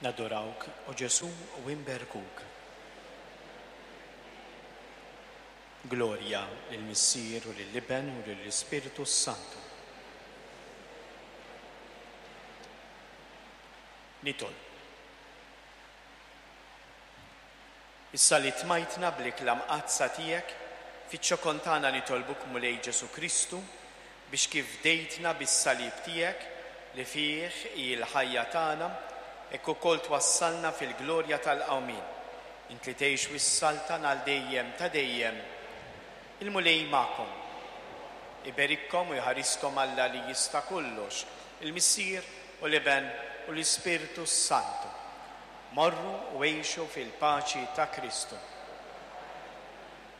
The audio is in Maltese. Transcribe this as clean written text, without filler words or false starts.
Nadurawk, o Ġesù, u inberkuk. Glorja lill-Missier u lill-Iben u lill-Ispirtu s-Santu. Nitolbu. Issa li tmajtna bl-ikla mqaddsa tiegħek, fiċ-ċokon tagħna nitolbuk Mulej Ġesù Kristu, biex kif fdejtna bis-salib tiegħek, li fih hi l-ħajja tagħna, hekk ukoll twassalna fil-glorja tal-qawmien. Int li tgħix u ssaltan għal dejjem ta' dejjem. Il-Mulej magħkom. Iberikkom u jħariskom Alla li jista' kollox, il-Missier u l-Iben u l-Ispirtu s-Santu. Morru u għixu fil-paċi ta' Kristu.